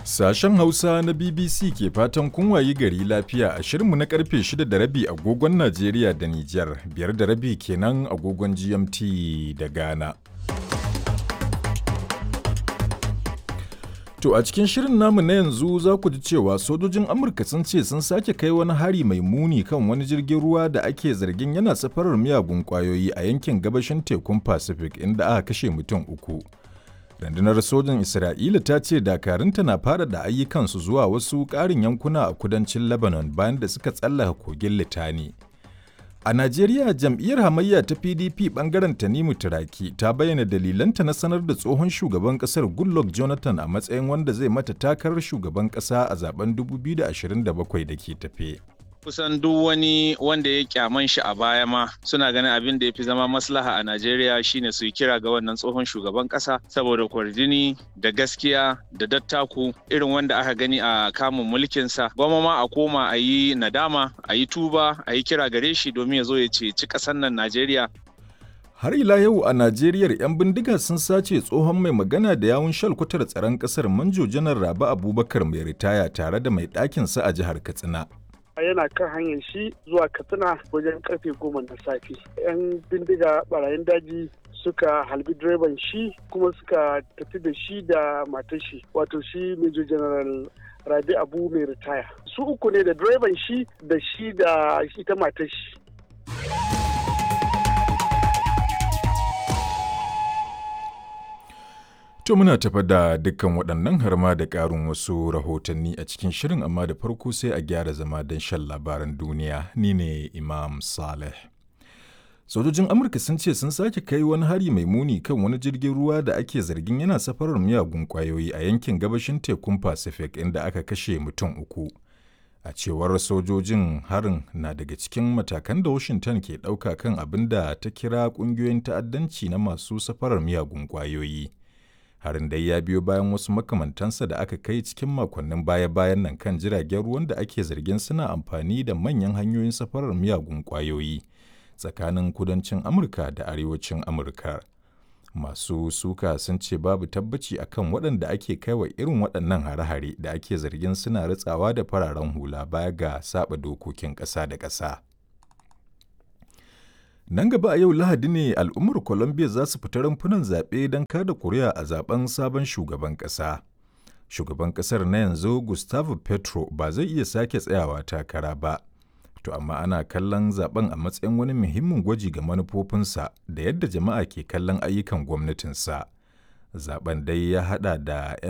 Sashen Hausa na BBC ke fatan kun wayi gari lafiya a shirinmu na karfe 6 da rabi agogon Najeriya da Nijar, biyar da rabi kenan agogon GMT da Ghana. To a cikin shirin namu na yanzu za ku ji cewa sojojin Amurka sun ce sun sake kai wani hari mai muni kan wani jirgin ruwa da ake zargin yana safarar miyagun kwayoyi a yankin gabashin tekun Pacific inda aka kashe mutum uku. Rundunar sojin Isra'ila ta ce dakarunta na faɗaɗa ayyukansu zuwa wasu ƙarin yankuna a kudancin Lebanon bayan da suka tsallaka kogin Litani. A Najeriya jam'iyyar hamayya ta PDP bangaren Tanimu Turaki ta bayyana dalilanta na sanar da tsohon shugaban kasar Goodluck Jonathan a matsayin wanda zai mata takarar shugaban kasa a zaben 2027 da ke tafe. Kusan duk wani wanda ya kyaman shi a baya ma suna ganin abin da ya fi zama maslaha a Najeriya shine su yi kira ga wannan tsohon shugaban kasa saboda kwarjini da gaskiya da dattaku irin wanda aka gani a kamun mulkinsa. Gwamma ma a koma a yi nadama, a yi tuba, a yi kira gare shi domin ya zo ya ceci ƙasar nan Najeriya. Har ila yau a Najeriya 'yan bindiga sun sace tsohon mai magana da yawun shalkwatar tsaron ƙasar Manjo Janar Rabi Abubakar mai ritaya tare da mai ɗakinsa a jihar Katsina. Yana kan hanyar shi zuwa Katsina wajen karfe 10 na safe, yan bindiga barayin daji suka halbi direban shi kuma suka tafi da shi da matar shi, wato shi Major General Rabi Abu mai ritaya. Su uku ne, da direban shi da shi da ita matar shi. To muna tafa da dukkan waɗannan har ma da ƙarin wasu rahotanni a cikin shirin, amma da farko sai a gyara zama don shan labaran duniya. Ni ne Imam Saleh. Sojojin Amurka sun ce sun sake kai wani hari mai muni kan wani jirgin ruwa da ake zargin yana safarar miyagun ƙwayoyi a yankin gabashin tekun Pacific inda aka kashe mutum uku. A cewar sojojin, harin na daga cikin matakan da Washington ke ɗauka kan abin da ta kira ƙungiyoyin ta'addanci na masu safarar miyagun ƙwayoyi. Harin dai ya biyo bayan wasu makamantansa da aka kai cikin makonnin baya-bayan nan kan jiragen ruwan da ake zargin suna amfani da manyan hanyoyin safarar miyagun kwayoyi tsakanin kudancin Amurka da arewacin Amurka. Masu suka sun ce babu tabbaci akan waɗanda ake kaiwa irin waɗannan hare-hare da ake zargin suna ritsawa da fararen hula baya ga saba dokokin ƙasa da ƙasa. Nan gaba a yau Lahadi ne al'ummar Colombia za su fita rumfunan zaɓe don kada kuri'a a zaben sabon shugaban ƙasa. Shugaban ƙasar na yanzu Gustavo Petro ba zai iya sake tsayawa takara ba. To amma ana kallon zaben a matsayin wani muhimmin gwaji ga manufofinsa da yadda jama'a ke kallon ayyukan gwamnatinsa. Zaben dai ya haɗa da 'yan